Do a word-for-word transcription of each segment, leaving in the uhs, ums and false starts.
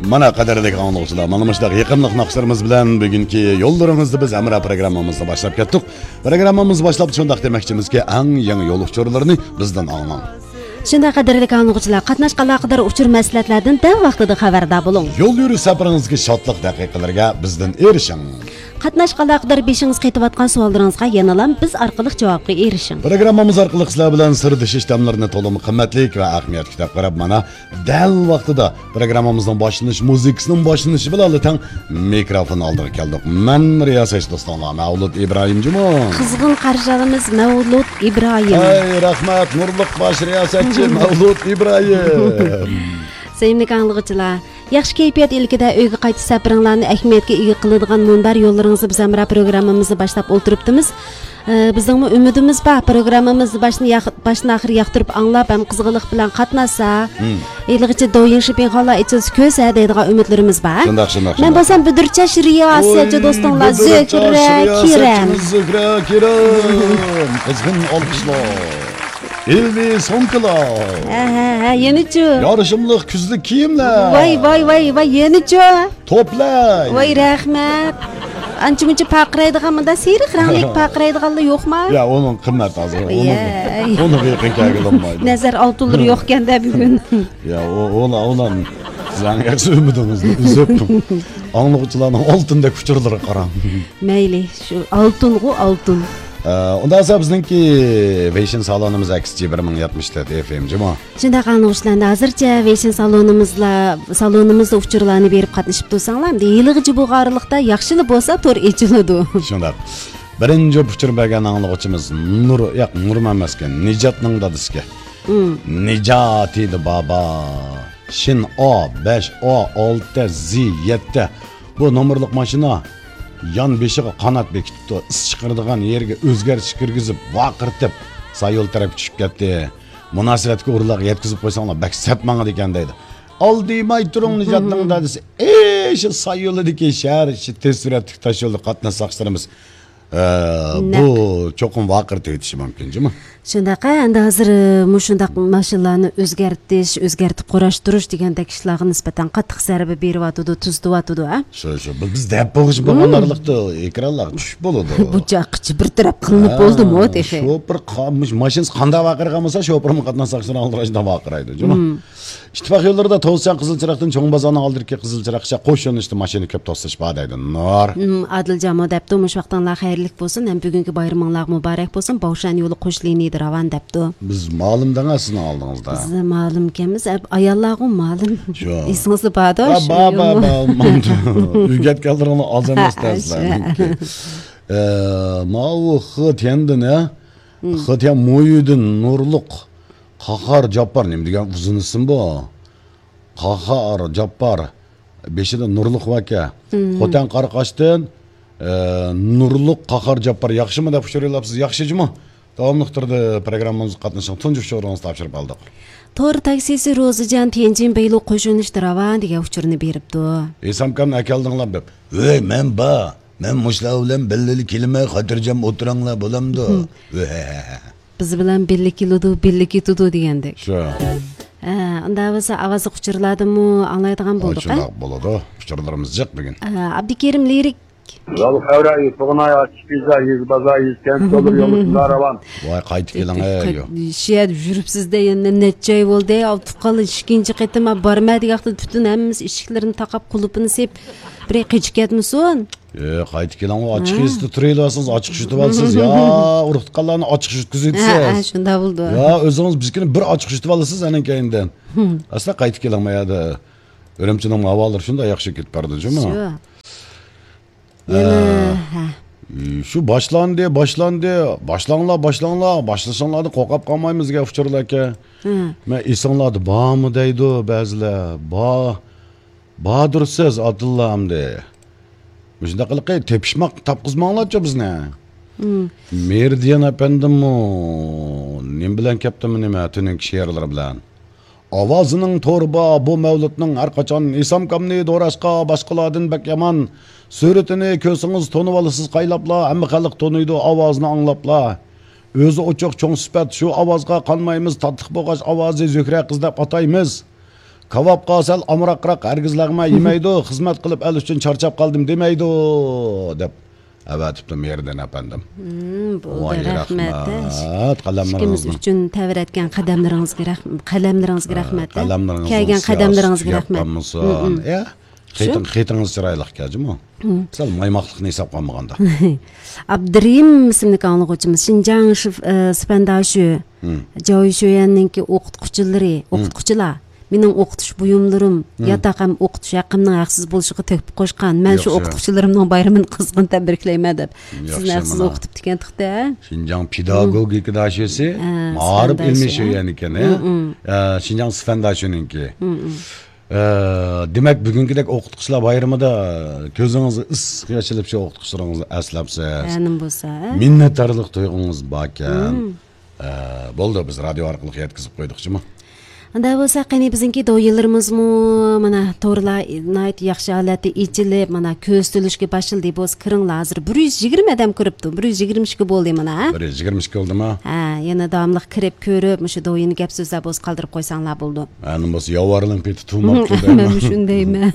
مانا، قەدىرلىك ئاڭلىغۇچىلار، مانا مۇشۇنداق يېقىملىق ناخشىلىرىمىز بىلەن بۈگۈنكى يوللىرىڭىزدا بىز ھەمراھ پروگراممىمىزنى باشلاپ كەتتۇق. پروگراممىمىزنى باشلاپ شۇنداق دېمەكچىمىزكى، ئەڭ يېڭى يول ئۇچۇرلىرىنى بىزدىن ئاڭلاڭ. شۇنداق، قەدىرلىك ئاڭلىغۇچىلار، قاتناشقا ئالاقىدار ئۇچۇر مەسلىھەتلەردىن دەل ۋاقتىدا خەۋەردار بولۇڭ. يول يۈرۈش سەپىرىڭىزدىكى شادلىق دەقىقىلىرىگە بىزدىن ئېرىشىڭ. قاتناشقا ئالاقىدار بېشىڭىز قېتىۋاتقان سوئاللىرىڭىزغا يەنىلا بىز ئارقىلىق جاۋابقا ئېرىشىڭ. پروگراممىمىز ئارقىلىق سىلەر بىلەن سىردىشىش دەملىرىنى تولىمۇ قىممەتلىك ۋە ئەھمىيەتلىك دەپ قاراپ، مانا، دەل ۋاقتىدا پروگراممىمىزنىڭ باشلىنىش مۇزىكىسىنىڭ باشلىنىشى بىلەن تەڭ مىكروفون ئالدىغا كەلدۇق. مەن رىياسەتچى دوستۇڭلار مەۋلۇت ئىبراھىم جۇمۇ. قىزغىن قارشى ئالىمىز مەۋلۇت ئىبراھىم. ھەي، رەھمەت، نۇرلۇق باش رىياسەتچى مەۋلۇت ئىبراھىم. سۆيۈملۈك ئاڭلىغۇچىلار، ياخشى كەيپىيات ئىلكىدە ئۆيگە قايتىش سەپىرىڭلارنى ئەھمىيەتكە ئىگە قىلىدىغان مۇنبەر يوللىرىڭىزدا بىز ھەمراھ پروگراممىمىزنى باشلاپ ئولتۇرۇپتىمىز. ئە، بىزنىڭمۇ ئۈمىدىمىز بار، پروگراممىمىزنى باشتىن ياق-، باشتىن ئاخىر ياقتۇرۇپ ئاڭلاپ ھەم قىزغىنلىق بىلەن قاتناشسا، ھېلىغىچە دويىڭ شىپىڭخانلار ئېچىلسا كۆرسە دەيدىغان ئۈمىدلىرىمىز بار. شۇنداق، شۇنداق، مەن شۇنداق. بولسام بۈدۈرچاش رىياسەتچى دوستۇڭلار زۆھرە كىرىم. قىزغىن ئالقىشلار. ئىلمىي سومكىلار. ھە، ھە، ھە، يەنىچۇ؟ يارىشىملىق كۈزلۈك كىيىملەر. ۋاي، ۋاي، ۋاي، ۋاي، يەنىچۇ؟ توپلاي. ۋاي، رەھمەت. ئانچە-مۇنچە پارقىرايدىغان، مۇنداق سېرىق رەڭلىك پارقىرايدىغانلار يوقما؟ يا، ئۇنىڭ قىممەت ھازىر. ئۇنىڭ، يەي. ئۇنىڭغا يېقىن كەلگىلى بولمايدۇ. نەزەر ئالتۇنلىرى يوقكەن-دە بۈگۈن. يا، ئۇ، ئۇلا-، ئۇلار سىزنىڭ ئەكس ئۈمىدىڭىزنى ئۈزۈپ، ئاڭلىغۇچىلارنىڭ ئالتۇندەك ئۇچۇرلىرىغا قاراڭ. مەيلى، شۇ ئالتۇنغۇ ئالتۇن. ئە، ئۇنداق بولسا بىزنىڭكى ۋېيشىن سالونىمىز ئەكس جى بىر مىڭ يەتمىش تۆت ئېف ئېم جۇمۇ. شۇنداق ئاڭلىغۇچىلار، ھازىرچە ۋېيشىن سالونىمىزلا، سالونىمىزدا ئۇچۇرلارنى بېرىپ قاتنىشىپ تۇرساڭلار، ئەمدى ھېلىغىچە بۇ ئارىلىقتا ياخشىلا بولسا تور ئېچىلىدۇ. شۇنداق. بىرىنچى ئۇچۇر بەرگەن ئاڭلىغۇچىمىز نۇر، ياق، نۇرمۇ ئەمەسكەن، نىجاتنىڭ دادىسىكەن. مم. نىجاتى دە بابا. شىن ئا، بەش ئا، ئالتە زى، يەتتە. بۇ نومۇرلۇق ماشىنا يان بېشىغا قانات بېكىتىپتۇ. ئىس چىقىرىدىغان يېرىگە ئۆزگەرتىش كىرگۈزۈپ، ۋارقىرىتىپ، سايول تەرەپكە چۈشۈپ كەتتى. مۇناسىۋەتلىك ئورۇنلارغا يەتكۈزۈپ قويساڭلار بەك سەت ماڭىدىكەن دەيدۇ. ئالدىماي تۇرۇڭ، نىجاتنىڭ دادىسى. ئېي، شۇ سايولىدىكى شەھەر ئىچى تېز سۈرئەتلىك تاشيولدا قاتناش ساقچىلىرىمىز. ئە، نەق. بۇ چوقۇم ۋارقىرىتىۋېتىشى مۇمكىن جۇمۇ. شۇنداق، ئەمدى ھازىر، ئە، مۇشۇنداق ماشىنىلارنى ئۆزگەرتىش، ئۆزگەرتىپ قۇراشتۇرۇش دېگەندەك ئىشلارغا نىسبەتەن قاتتىق زەربە بېرىۋاتىدۇ، تۈزىتىۋاتىدۇ، ھە؟ شۇ، شۇ. بىز، بىز دەپ بولغۇچە بولغان ئارىلىقتا ئېكرانلارغا چۈشۈپ بولىدۇ. بۇ چاققىچە بىر تەرەپ قىلىنىپ بولدىمۇ تېخى؟ شوپۇر قا-، مۇش-، ماشىنىسى قانداق ۋارقىرىغان بولسا، شوپۇرمۇ قاتناش ساقچىلىرى ئالدىراش شۇنداق ۋارقىرايدۇ جۇمۇ. ئىتتىپاق يوللىرىدا توسۇشچان قىزىل چىراغدىن چوڭ بازارنىڭ ئالدىدىكى قىزىل چىراغقىچە قوش يۆنىلىشتە ماشىنا كۆپ توسۇلۇش بار دەيدۇ. نۇر. ئادىلجانمۇ دەپتۇ، مۇشۇ ۋاقتىڭلار خەيرلىك بولسۇن ھەم بۈگۈنكى بايرىمىڭلار مۇبارەك بولسۇن، باۋشان يولى قوش لىنىيىدە راۋان دەپتۇ. بىز مالىم دەڭە سىزنىڭ ئالدىڭىزدا. بىز مالىمكەنمىز، ئە، ئاياللارغۇ مالىم. شۇ. ئېسىڭىزدە باردۇ، شۇ بار، بار، يولمۇ؟ بار، بار، ماندۇ. ئۆگەتكەنلىرىڭلار ئاز ئەمەس شۇ. دەسلەر. ئە، ماۋۇ خې تيەندىن، ھە؟ خې تيەن مويىدىن نۇرلۇق قاھار جاپپار، نېمە دېگەن ئۇزۇن ئىسىم بۇ؟ قاھار جاپپار، بېشىدا نۇرلۇق باركەن. خوتەن قاراقاشتىن، ئە، نۇرلۇق قاھار جاپپار ياخشىمۇ دەپ ئۇچۇر يوللاپسىز، ياخشى جۇمۇ. داۋاملىق تۈردە پروگراممىمىزغا قاتنىشىڭ، تۇنجى ئۇچۇرىڭىزنى تاپشۇرۇپ ئالدۇق. تور تاكسىسى روزىجان تيەنجىن بېيلۇ قوش يۆنىلىشتە راۋان دېگەن ئۇچۇرنى بېرىپتۇ. ئېسامكامنى ئەكەلدىڭلار دەپ. ۋەي، مەن بار. مەن مۇشۇلار بىلەن بىللىلە كېلىمەن، خاتىرجەم ئولتۇرۇڭلار، بولامدۇ؟ ۋەھەھەھە. بىز بىلەن بىللە كېلىدۇ، بىللە كېتىدۇ دېگەندەك. شۇ. ھە، ئۇنداق بولسا ئاۋازلىق ئۇچۇرلاردىنمۇ ئاڭلايدىغان بولدۇق، ھە؟ شۇنداق بولىدۇ. ئۇچۇرلىرىمىز جىق بۈگۈن. ھە، ئابدۇكېرىم لىرىك. يول خەۋرى، تۇغناي ئاچىق يېزا، يېزا بازار، يېزا كەنت يوللىرى يوللىرىدا راۋان. ۋاي، قايتىپ كېلىڭ، ئەي، يو. شۇ يەردە يۈرۈپسىز-دە، يەنە نەچچە ئاي بولدى، ئەي، ئابدۇقاللا ئىككىنچى قېتىم بارمە دېگەن ۋاقتىدا پۈتۈن ھەممىمىز ئىشىكلىرىنى تاقاپ، قۇلۇپىنى سېلىپ، بىرەي قېچىپ كەتمىسۇن. ئە، قايتىپ كېلىڭ، ئۇ ئاچچىق ھە. يېزىدا تۇرۇۋېلىۋالسىڭىز، ئاچچىق يۇتۇۋالىسىز. يا، ئۇرۇق-تۇغقانلارنى ئاچچىق يۇتقۇزۇۋېتىسىز. ھە، ھە، شۇنداق بولىدۇ. يا، ئۆزىڭىز بىزكىنى بىر ئاچچىق يۇتۇۋالىسىز ئەنە كەينىدىن. ئەسلى قايتىپ كېلىڭ، ما يەردە ئۈرۈمچىنىڭ ھاۋالىرى شۇنداق ياخشى كېتىپ بارىدۇ جۇمۇ. شۇ. يەنە، ھە. شۇ باشلاندى، باشلاندى. باشلاڭلار، باشلاڭلار. باشلىشىڭلاردىن قورقۇپ قالمايمىز دېگەن ئۇچۇرلاركەن. ھە. مەن ئېسىڭلاردا بارمۇ دەيدۇ بەزىلەر. بار. باردۇرسىز ئاتىللا ئەمدى. مۇشۇنداق قىلىقى تېپىشماق تاپقۇزماڭلارچۇ بىزنى. مېرىدىيان ئەپەندىممۇ نېمە بىلەن كەپتىمۇ نېمە تۈنۈگۈنكى شېئىرلىرى بىلەن. ئاۋازىنىڭ تورى بار بۇ مەۋلۇتنىڭ ھەرقاچان ئېسامكامنى دوراشقا باشقىلاردىن بەك يامان. سۈرىتىنى كۆرسىڭىز تونۇۋالىسىز قايلاپلا، ھەممە خەلق تونۇيدۇ ئاۋازىنى ئاڭلاپلا. ئۆزى ئوچۇق چوڭ سۈپەت شۇ ئاۋازغا قانمايمىز، تاتلىق بولغاچ ئاۋازى زۆھرە قىز دەپ ئاتايمىز. كاۋاپقا سەل ئامراقراق، ھەرگىز لەغمەن يېمەيدۇ، خىزمەت قىلىپ ئەل ئۈچۈن چارچاپ قالدىم دېمەيدۇ، دەپ ئەۋەتىپتۇ مېھرىدىن ئەپەندىم. ھىم، بولدى، ۋاي، رەھمەت. رەھمەت. ئىككىمىز قەلەملىرىڭىزنى ئۈچۈن تەۋرەتكەن قەدەملىرىڭىزگە رەھ-، قەلەملىرىڭىزگە ھە، رەھمەت، ھە. قەلەملىرىڭىزنىڭ كەلگەن سىياسىتى قەدەملىرىڭىزگە رەھمەت. ياپقانمىسۇن. ھىم، ھىم. ئە، شۇ؟ خېتىڭ-، خېتىڭىز چىرايلىق ئىكەن جۇمۇ. ھىم. سەل مايماقلىقنى ھېسابقا ئالمىغاندا. ئابدۇرېھىم ئىسىملىك ئاڭلىغۇچىمىز، شىنجاڭ شىف-، ئە، سىفەنداشۈ، ھىم. جاۋشۈيۈەننىڭكى ئوقۇتقۇچىلىرى، ھىم. ئوقۇتقۇچىلار مېنىڭ ئوقۇتۇش بۇيۇملىرىم، ھىم. ياتاق ھەم ئوقۇتۇش ھەققىمنىڭ ھەقسىز بولۇشىغا تۆھپە قوشقان. مەن شۇ ياخشى. ئوقۇتقۇچىلىرىمنىڭ بايرىمىنى قىزغىن تەبرىكلەيمەن دەپ. ياخشى، سىزنى ھەقسىز مانا. ئوقۇتۇپتىكەن تېخى. شىنجاڭ پېداگوگىكا داشۆسى، ھە، مائارىپ سىفەنداشى، ئىلمىي ھە؟ شۆيۈەن ئىكەن، ھە؟ ھىم، ھىم. ئە، شىنجاڭ سىفەنداشۆنىڭكى. ھىم، ھىم. ئە، دېمەك، بۈگۈنكىدەك ئوقۇتقۇچىلار بايرىمىدا كۆزىڭىزگە ئىسسىق ياش ئېلىپ، شۇ ئوقۇتقۇچىلىرىڭىزنى ئەسلەپسىز. ھە، نېمە بولسا، ھە؟ مىننەتدارلىق تۇيغۇڭىز باركەن. ھىم. ئە، بولدى، بىز رادىيو ئارقىلىق يەتكۈزۈپ قويدۇق جۇمۇ. ئۇنداق بولسا، قېنى، بىزنىڭكى دويىلىرىمىزمۇ مانا تورلار ناھايىتى ياخشى ھالەتتە ئېچىلىپ، مانا كۆرسىتىلىشكە باشلىدى. بولسا كىرىڭلار، ھازىر بىر يۈز يىگىرمە ئادەم كىرىپتۇ. بىر يۈز يىگىرمە ئىككى بولدى مانا. بىر يۈز يىگىرمە ئىككى بولدىما؟ ھە، يەنە داۋاملىق كىرىپ كۆرۈپ، مۇشۇ دويىنى گەپ سۆزلەر بولسا قالدۇرۇپ قويساڭلار بولىدۇ. ھە، نېمە بولسا ياۋارلىنىپ كېتىپ تۇرماپتۇ دەيمەن. مەن شۇنداق دەيمەن.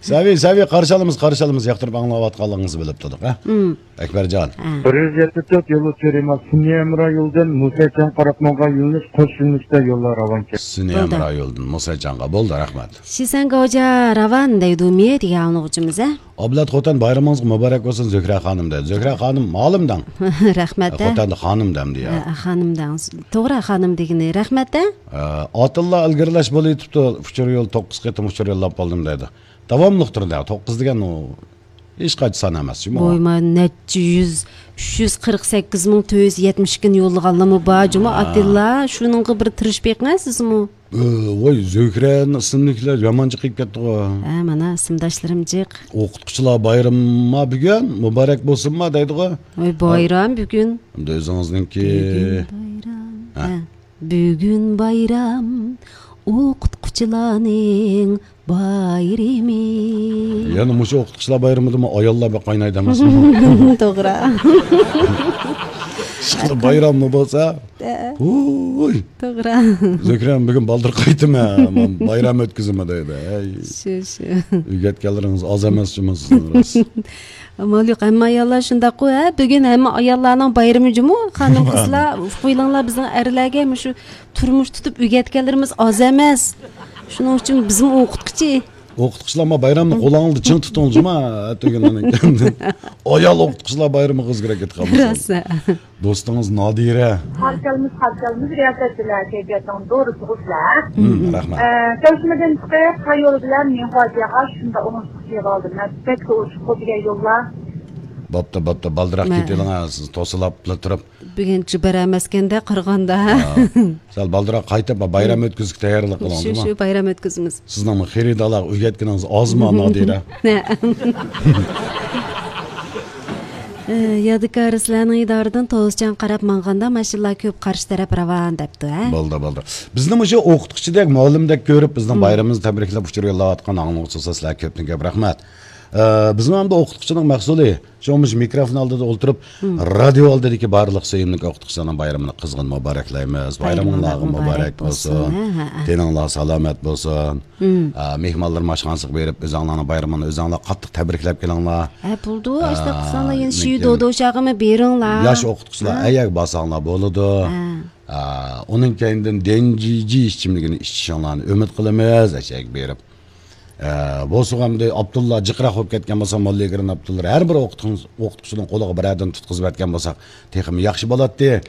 سەۋىي، سەۋىي، قارشى ئالىمىز، قارشى ئالىمىز، ياقتۇرۇپ ئاڭلاۋاتقانلىقىڭىزنى بىلىپ تۇردۇق، ھە؟ ھىم. ئەكبەرجان. ھە. بىر يۈز يەتتە تۆت يولى تۈرىمە سۈنئىي ھەمراھ يولىدىن مۇسەچياڭ قاراپ ماڭغان يۆنىلىش قوش يۆنىلىشتە يوللار راۋانكەن. سۈنئىي بولدى. ھەمراھ يولىدىن مۇسەچياڭغا. بولدى، رەھمەت. شىسەنگاۋجا راۋان دەيدۇ مى دېگەن ئاڭلىغۇچىمىز، ھە؟ ئابلەت خوتەن، بايرىمىڭىز مۇبارەك بولسۇن، زۆھرە خانىم دەيدۇ. زۆھرە خانىم، مالىم دەڭ. رەھمەت، ھە؟ خوتەندە خانىم دەمدى يا. ھە، خانىم دەڭ. توغرا، خانىم دېگىنى. رەھمەت، ھە؟ ئە، ئاتىللا ئىلگىرىلەش بولۇۋېتىپتۇ. ئۇچۇر يول، توققۇز قېتىم ئۇچۇر يوللاپ بولدۇم دەيدۇ. داۋاملىق تۇرىدۇ. توققۇز دېگەن ئۇ ھېچ قايسى سان ئەمەس جۇمۇ. ۋوي، ما نەچچە يۈز، ئۈچ يۈز قىرىق سەككىز مىڭ تۆت يۈز يەتمىش ئىككىنى يوللىغانلىمۇ بار جۇمۇ، ھە. ئاتىللا. شۇنىڭغا بىر تىرىشىپ بېقىڭە سىزمۇ. ئۆ، ۋوي، زۆھرەنىڭ ئىسىملىكلەر يامان جىق قېلىپ كەتتىغۇ. ھە، مانا ئىسىمداشلىرىم جىق. ئوقۇتقۇچىلار بايرىمى بۈگۈن، مۇبارەك بولسۇنما دەيدىغۇ. ۋوي، بايرام بۈگۈن. ئەمدى ئۆزىڭىزنىڭكى. بۈگۈن بايرام. ھە. ھە. بۈگۈن بايرام، ئوقۇتقۇچىلارنىڭ بايرىمى. يەنە مۇشۇ ئوقۇتقۇچىلار بايرىمىدىمۇ ئاياللار بەك قاينايدۇ ئەمەسمۇ؟ توغرا. ئىشقىلىپ بايراممۇ بولسا، ھە. ھۇي. توغرا. زۆھرەم، بۈگۈن بالدۇر قايتىمەن، بايرام ئۆتكۈزىمەن دەيدۇ. ھەي. شۇ، شۇ. ئۆگەتكەنلىرىڭىز ئاز ئەمەس جۇمۇ سىزنىڭ راست. ئامال يوق، ھەممە ئاياللار شۇنداققۇ، ھە؟ بۈگۈن ھەممە ئاياللارنىڭ بايرىمى جۇمۇ، خانىم قىزلار، ئۇقۇۋېلىڭلار، بىزنىڭ ئەرلەرگە مۇشۇ تۇرمۇش تۇتۇپ ئۆگەتكەنلىرىمىز ئاز ئەمەس. شۇنىڭ ئۈچۈن بىزمۇ ئوقۇتقۇچى. ئوقۇتقۇچىلار، ما بايرامنى قولىڭىزدا چىڭ تۇتۇڭ جۇمۇ، ئەتىگۈنلەرنىڭ. ئايال ئوقۇتقۇچىلار بايرىمىغا ئۆزگىرەك كېتىپ قالمىسۇن. راست. دوستىڭىز نادىرە. قارشى ئالىمىز، قارشى ئالىمىز، رىياسەتچىلەر كەيپىياتىنىڭ دورىسى غۇسلە. ھىم، رەھمەت. ئە، چەشمىدىن چىقىپ، قايول بىلەن مىڭخۇاجياغا شۇنداق ئوڭۇشلۇق يېغىلدىم. مەن بەك ئوشۇق بولدى يول. بوپتۇ، بوپتۇ، بالدۇراق كېتىۋېلىڭ، سىز توسۇلۇپلا تۇرۇپ. بۈگۈن بېرەلمەسكەندە قارىغاندا. ھە. سەل بالدۇراق قايتىپ، بايرام ئۆتكۈزۈشكە تەييارلىق قىلىڭ، شۇ، جۇمۇ. شۇ، بايرام ئۆتكۈزىمىز. سىزنىڭمۇ خېرىدارلارغا ئۆگەتكىنىڭىز ئازمۇ، نادىرە؟ ئە، يادىكار، سىلەرنىڭ ئىدارىدىن توسچان قاراپ ماڭغاندا ماشىنىلار كۆپ، قارشى تەرەپ راۋان دەپتۇ، ھە؟ بولدى، بولدى. بىزنى مۇشۇ ئوقۇتقۇچىدەك، مۇئەللىمدەك كۆرۈپ، بىزنىڭ بايرىمىمىزنى تەبرىكلەپ ئۇچۇر يوللاۋاتقان ئاڭلىغۇچىلار، سىلەرگە كۆپتىن كۆپ رەھمەت. ئە، بىزمۇ ئەمدى ئوقۇتقۇچىنىڭ مەھسۇلى. شۇڭا مۇشۇ مىكروفون ئالدىدا ئولتۇرۇپ، رادىيو ئالدىدىكى بارلىق سۆيۈملۈك ئوقۇتقۇچىلارنىڭ بايرىمىنى قىزغىن مۇبارەكلەيمىز. بايرىمىڭلارغا مۇبارەك بولسۇن. ھە، ھە، ھە. تېنىڭلار سالامەت بولسۇن. ئە، مېھمانلىرىم ئاشخانىسىغا بېرىپ، ئۆزۈڭلارنىڭ بايرىمىنى ئۆزۈڭلار قاتتىق تەبرىكلەپ كېلىڭلار. ھە، بولىدۇ. ئە، ئاشۇنداق قىلساڭلار يەنە شىۋ دودوشاغىمۇ بېرىڭلار. ياش ئوقۇتقۇچىلار ئەيەرگە بارساڭلار بولىدۇ. ھە. ئە، ئۇنىڭ كەينىدىن دېنجىجى ئىچىملىكىنى ئىچىشىڭلارنى ئۈمىد قىلىمىز، ئەشەگە بېرىپ. ئە، بولسىغۇ ئەمدى ئابدۇللا جىقراق بولۇپ كەتكەن بولسا، موللا ئىگرىن ئابدۇللا ھەر بىر ئوقۇتقۇچ-، ئوقۇتقۇچىنىڭ قولىغا بىرەردىن تۇتقۇزۇپ ئەتكەن بولساق، تېخىمۇ ياخشى بولاتتى.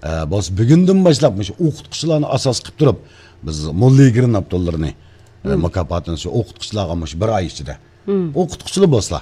ئە، بولسا بۈگۈندىن باشلاپ مۇشۇ ئوقۇتقۇچىلارنى ئاساس قىلىپ تۇرۇپ، بىز موللا ئىگرىن ئابدۇللىنى، ئە، مۇكاپاتىنى شۇ ئوقۇتقۇچىلارغا مۇشۇ بىر ئاي ئىچىدە. ئوقۇتقۇچىلار بولسىلا،